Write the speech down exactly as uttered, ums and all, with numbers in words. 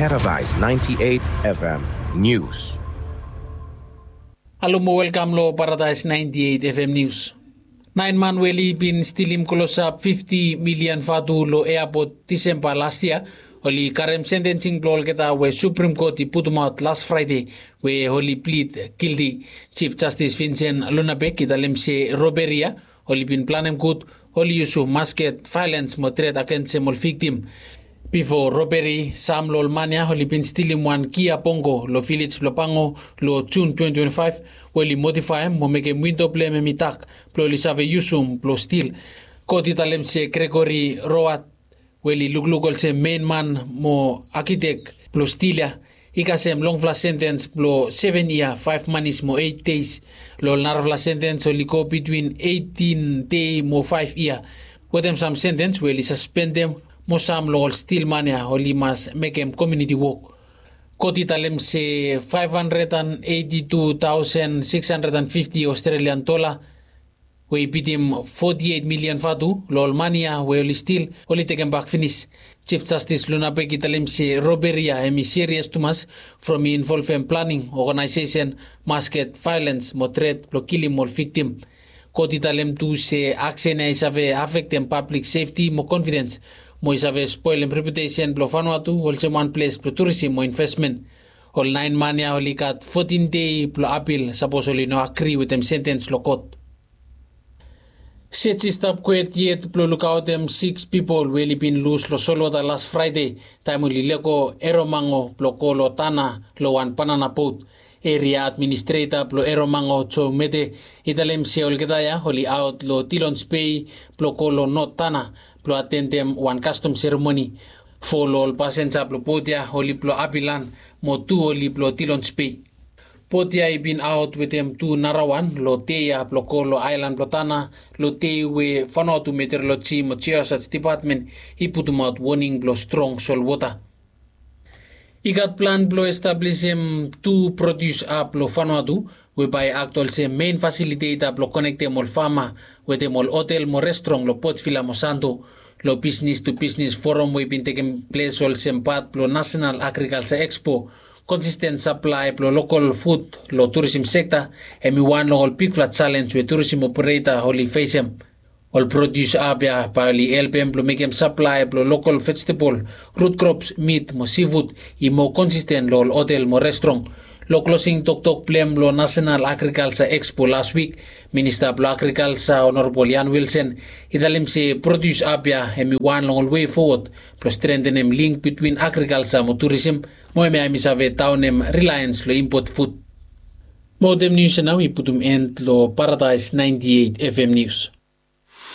Paradise ninety-eight F M News. Halo mo welkam lo Paradise ninety-eight F M News. Naen man we oli bin stilim klosap fifti milian vatu lo eapot Disemba las yia, oli karem sentensing blo olgeta we Supreme Court i putumaot las Fraede, we oli plid gilti. Chief Justice Vincent Lunabek i talem se roberi ya oli bin planem gud, oli yusum masket vaelens mo tret agensem ol viktim. Bifo roberi, sam lo ol man ya oli bin stilim wan Kia Bongo lo vilej blo Pango lo Jun twenty twenty-five, we oli modifaem mo mekem windo blem hem i dak blo oli save yusum blo stil. Kot i talem se Gregory Rowat, we oli lukluk olsem mein man mo akitek blo stil ya, i kasem longfala sentens blo seven yia, faef manis mo eit deis. Lo ol narafala sentens oli go bitwin eitin dei mo faef yia, wetem sam sentens we oli saspendem, mo sam lo ol stil man ya oli mas mekem komuniti wok. Kot i talem se faef handred and eiti tu taosen sikis handred and fifti Australian dola, we i bitim foti eit milian vatu lo ol man ya we oli stil, oli tekembak finis. Chief Justice Lunabek i talem se roberi ya hem i serias tumas, from i involvem planing, oganaesesen, masket vaelens mo tret blo kilim ol viktim. Kot i talem tu se aksen ya i save afektem pablik sefti mo konfidens, mo i save spolem reputesen blo Vanuatu olsem wan ples blo turisim mo invesmen. Ol naen man ya oli gat fotin dei blo apil sapos oli no agri wetem sentens lo kot. Sej i stap kwet yet blo lukaotem siks pipol we oli bin lus lo solwota las Fraede, taem oli lego Eromango blo go lo Tana lo wan banana bot. Eria administreta blo Eromango, Joe Mete, i talem se olgeta ya oli aot lo Dillons Bay blo go lo North Tana blo atendem wan kastom seremoni. Fo lo ol pasenja blo bot ya oli blo Abilan, mo tu oli blo Dillons Bay. Bot ya i bin aot wetem tu narawan lo dei ya blo go lo aelan blo Tana, lo dei we Vanuatu Meteoroloji mo Geosaj Depatmen i putumaot woning blo strong solwota. I gat plan blo establisim tu prodius ap lo Vanuatu, we bae i akt olsem mein fasiliteta blo konektem ol fama wetem ol hotel mo restrong lo Port Vila mo Santo. Lo bisnis tu bisnis foram we i bin tekem ples olsem pat blo Nasenal Agrikalja Ekspo, konsisten saplae blo lokol fut lo turisim sekta hem i wan long ol bigfala jalenj we turisim opereta oli fesem. Ol prodius ap ya bae oli helpem blo mekem saplae blo lokol vejetebol, rut krops, mit mo sifut i moa konsisten lo ol hotel mo restrong. Lo klosing toktok blem lo Nasenal Agrikalja Ekspo las wik, Minista blo Agrikalja Honorabol Ian Wilson i talem se prodius ap ya hem i wan long ol wei fowod blo strentenem link bitwin agrikalja mo turisim, mo hemia hem i save daonem rilaens lo impot fut. Mo wetem nius ya nao i putum en lo Paradise ninety-eight F M News.